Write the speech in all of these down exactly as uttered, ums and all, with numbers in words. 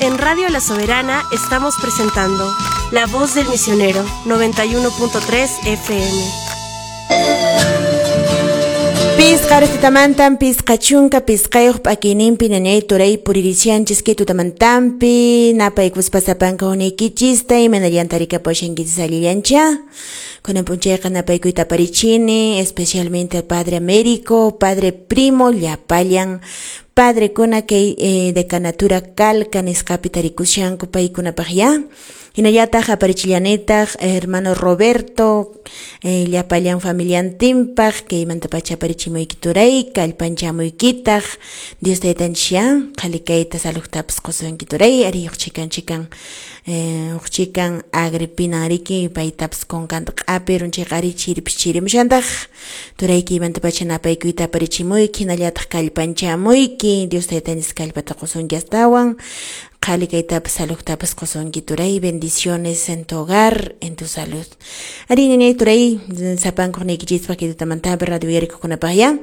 En Radio La Soberana estamos presentando La Voz del Misionero, noventa y uno punto tres F M. Pisqa restitamantan, pisqa chunka, pisqayuq p'akiyninpi ñañay turay puririshanchis kay tutamantanpi, napaykuspa sapanka hunaykichista imanallanta rikapushankichis allillancha. Kunan p'unchayqa napaykuyta aparichini, especialmente al Padre Américo, Padre Primo, llapallan padrekuna kay eh, decanatura Calca nisqapi tarikushanku paykunapaq ya. Hinallataq aparichillanitaq hermano Roberto, eh, llapallan familiantinpaq kaymantapacha aparichimuyki turay, kallpanchamuykitaq Dios taytanchis ya, qhalikayta saludtapas qusunki turay, ari uq chikan chikan, eh, uq chikan Agripina riki paytapas kunkanta q'apirun chayqa ari chiripis chirimushantaq turay kaymantapacha napaykuyta aparichimuyki, hinallataq kallpanchamuyki, Dios taytanchis kallpata qusunki astawan. Qhalikaytapas saludtapas qusunki turay, bendiciones en tu hogar, en tu salud. Ari ñañay turay, sapankuq niykichispaq kay tutamantapi radio uyarikuqkunapaq ya.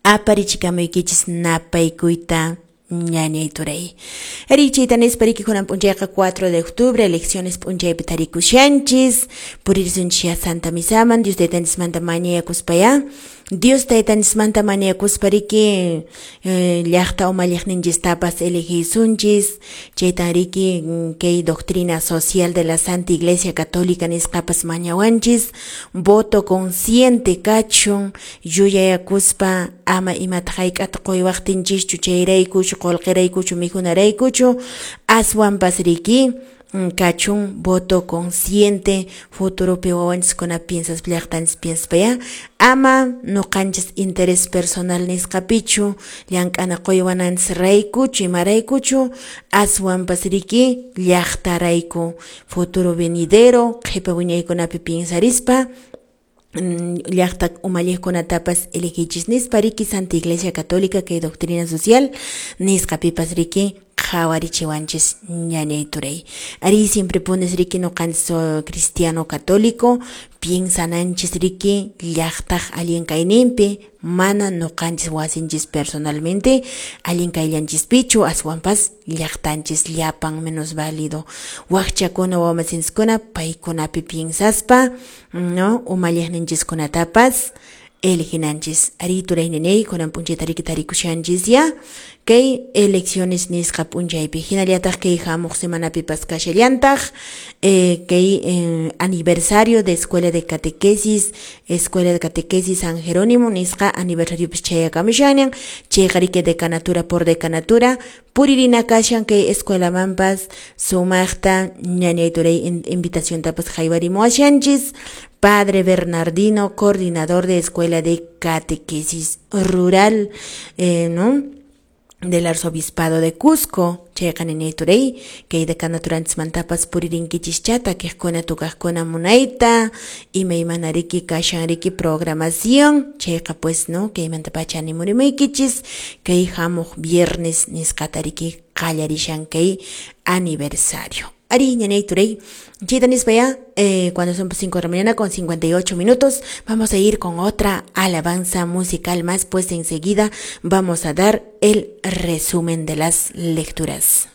Aparichikamuykichis napaykuyta ñañay turay. Ari chayta nispa riki kunan p'unchayqa cuatro de octubre, elecciones p'unchaypi tarikushanchis, puririsunchis ya Santa Misaman, Dios taytanchismanta mañakuspa ya. Dios taytanchismanta mañakuspa riki, eh, llaqta umalliqninchistapas elegisunchis, chaytan riki kay doctrina social de la Santa Iglesia Católica nisqapas mañawanchis, voto consciente kachun, yuyayakuspa ama imata hayk'ata quywaqtinchischu chayraykuchu qullqiraykuchu mikhunaraykuchu, aswanpas riki kachun voto consciente, futuropi wawanchiskuna piensaspa llaqtanchis piensaspa ya, ama nuqanchis interés personal nisqapichu, llank'ana quywananchis raykuchu imaraykuchu, aswanpas riki llaqtarayku, futuro venidero qhipa wiñaykunapi piensarispa llaqta umalliqkunatapas elegichis nispa riki Santa Iglesia Católica kay doctrina social nisqapipas riki qhawarichiwanchis ñañay turay. Ari siempre pones riki nuqanchis cristiano católico piensananchis riki llaqtaq allin kayninpi, mana nuqanchis wasinchis personalmente allin kayllanchispichu, aswanpas llaqtanchis llapan menos válido waqchakuna wamasinchiskuna paykunapi piensaspa, no, umalliqninchiskunatapas eleginanchis. Ari turay ñañay kunan p'unchayta riki tarikushanchis ya kay elecciones nisqa p'unchaypi, hinallataq kay hamuq semanapipas kashallantaq, eh, kay eh, aniversario de Escuela de Catequesis, Escuela de Catequesis San Jerónimo nisqa aniversariopis chayakamushañan, chayqa riki decanatura por decanatura puririna kashan kay escuelamanpas sumaqta ñañay turay invitaciontapas haywarimuwashanchis. Padre Bernardino, coordinador de Escuela de Catequesis Rural, eh, ¿no?, del Arzobispado de Cusco, chayqa ñañay turay, kay decanaturanchis puririnkichis chata, takiqkuna tukaqkuna munayta, imaymana riki kashan riki programación, chayqa pues, ¿no?, kaymantapacha animurimuykichis, kay hamuq viernes nisqata riki qallarishan kay aniversario. Ari ñañay turay, chayta nispa ya, eh, cuando son cinco de la mañana con cincuenta y ocho minutos, vamos a ir con otra alabanza musical más, pues enseguida vamos a dar el resumen de las lecturas.